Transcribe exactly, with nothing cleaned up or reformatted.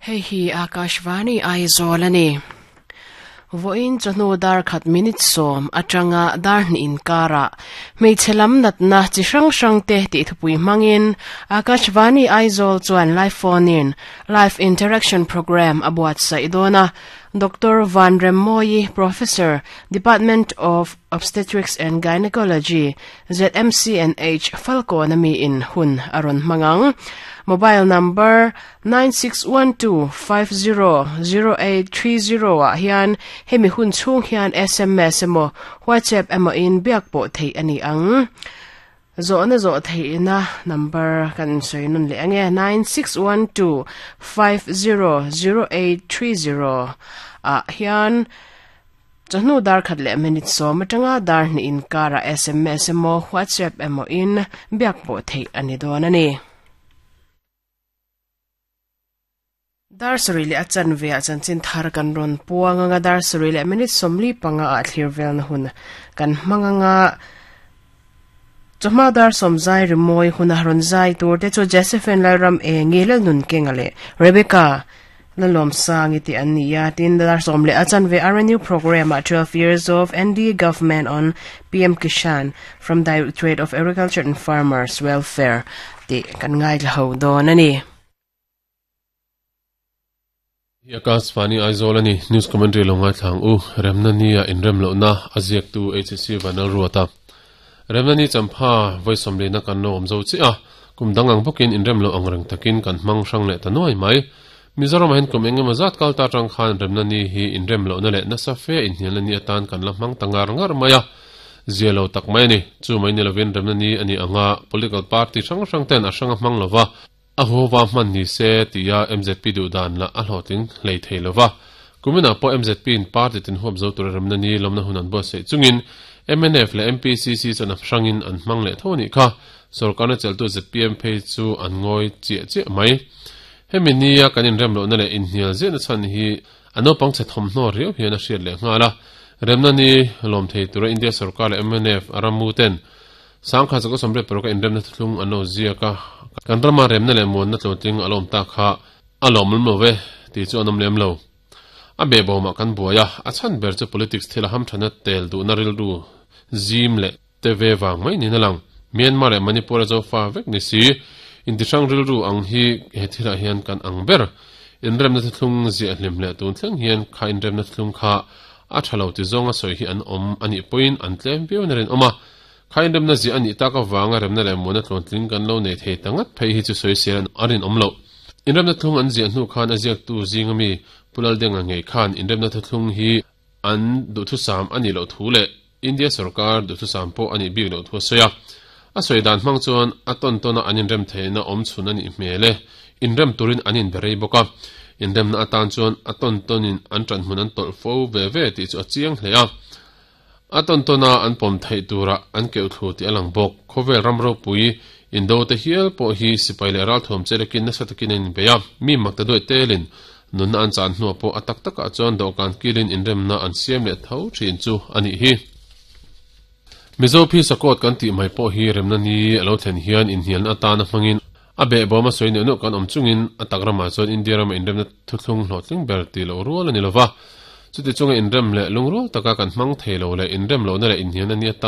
Hei hi Akashvani Aizawl ani. Voin chawhnu dar khat minute sawm atanga dar hnih inkara hmeichhe lam natna chi hrang hrang te tih thupui hmangin Akashvani Aizawl chuan live phone in live interaction program a buatsaih dawn a. Doctor Van Remmoyi, Professor, Department of Obstetrics and Gynecology, Z M C N H Falkawn ami in hun a rawn hmangang. Mobile number nine six one two five zero zero eight three zero ah hian hemi hun chhung hian S M S emaw WhatsApp emaw in biak pawh theih ani ang. Zawhna zawh theihna number kan sawi nun leh ange nine six one two five zero zero eight three zero ah hian chawhnu dar khat leh minute sawm atanga dar hnih inkara S M S emaw WhatsApp emaw in biak pawh theih ani dawn ani. Dar sarih leh a chanve ah chanchin thar kan rawn puang anga dar sarih leh minute sawmli panga ah thlir velna hun kan hmang anga chawhma dar sawm zai rimawi hun a rawn zai tur te chu Josephine Lalram Engi Lalnun Kenga leh Rebecca Lalawm Sangi tih an ni a. Tin dar sawm leh a chanve R N U program ah twelve years of N D A government on P M Kishan from Directorate of Agriculture and Farmers Welfare tih kan ngaithla ho dawn ani. Akashvani Aizawl ani news commentary lo ngaithlang u remna ni a inrem lo na aziak tu H C Vanal Ruata remna ni champha voisom le na kan lo omzo chi a kum dangang bokin inrem lo angreng takin kan hmang hrang leh ta nuai mai Mizoram hen kum engemaw zat kal ta tang khan remna ni hi inrem lo na leh nasa fe inhnial ani atan kan la hmang tangar ngar mai a zialo tak mai ani chu mai ni lovin remna ni ani anga political party hrang hrang ten a hranga hmang lova a huwa hman ni se tia M Z P du dan la a hlawhtling hlei thei lova kumina pawh M Z P in party tin huap zo tur remna ni lawmna hun an buatsaih chungin M N F leh M P C C chuan a hrangin an hmang leh tho anih kha sorkarna cheltu Z P M phei chu an ngawi chiah chiah mai hemi nia kan inrem lohna leh inhnial ziahna chhan hi a naupang chhe thawmhnaw riau hian a hriat leh nghal a remna ni lawm thei tura India sarkar leh M N F a ramu ten sangkha chaka sawmriat paruk a inremna thuthlung an lo ziak a kan rama remna leh muanna tlawntling a lawm ta kha a lawm lawm lo ve tih chu an awm lem lo a be bawmah kan buai a a chhan ber chu politics thil a hamthana tel duhna rilru zim leh te ve wang mai niin a lang Myanmar leh Manipur a zo fa vek ni si intihrang rilru ang hi he thilah hian kan ang ber inremna thuthlung ziah hlim leh tun thleng hian kha inremna thuthlung kha a tha lo ti zawng a sawi hi an awm anih pawhin an tlem viau na rin awm a kha inremna ziah anih tak awanga remna leh muanna tlawntling kan lo nei thei ta ngat phei hi chu sawi sel a rin awm lo inremna thlung an ziah hnu khan a ziak tu zing ami Pulal Denga ngei khan inremna thuthlung hi an duhthusam ani lo thu leh India sarkar duhthusam pawh ani bik lo thu a sawi a a sawi dan hmang chuan a tawn tawna an inrem theihna awm chhun ani hmel e inrem turin an inberei bawk a inremna atan chuan a tawn tawnin an tan hmun an tawlh fo ve ve tih chu a chiang hle a a tawn tawna an pawm theih tura an keuh thlu tih a lang bawk khawvel ram ropui indo te hial pawh hi sipai leh ral thuam chelekin nasa takin an inbei a mi mak ta duai telin nunna an chan hnuah pawh a tak takah chuan dawhkan kilin inremna an siam leh tho thin chu anih hi Mizo phi sakawt kan tih mai pawh hi remna ni a lo thlen hian inhnialna atana hmangin a be bawm a sawi neuh neuh kan awm chungin a tak ramah chuan India rama inremna thuthlung hlawhtling ber tih loh rual ani lova chuti chunga inrem leh lungrual taka kan hmang thei lo leh inrem lohna leh inhnialna ni atan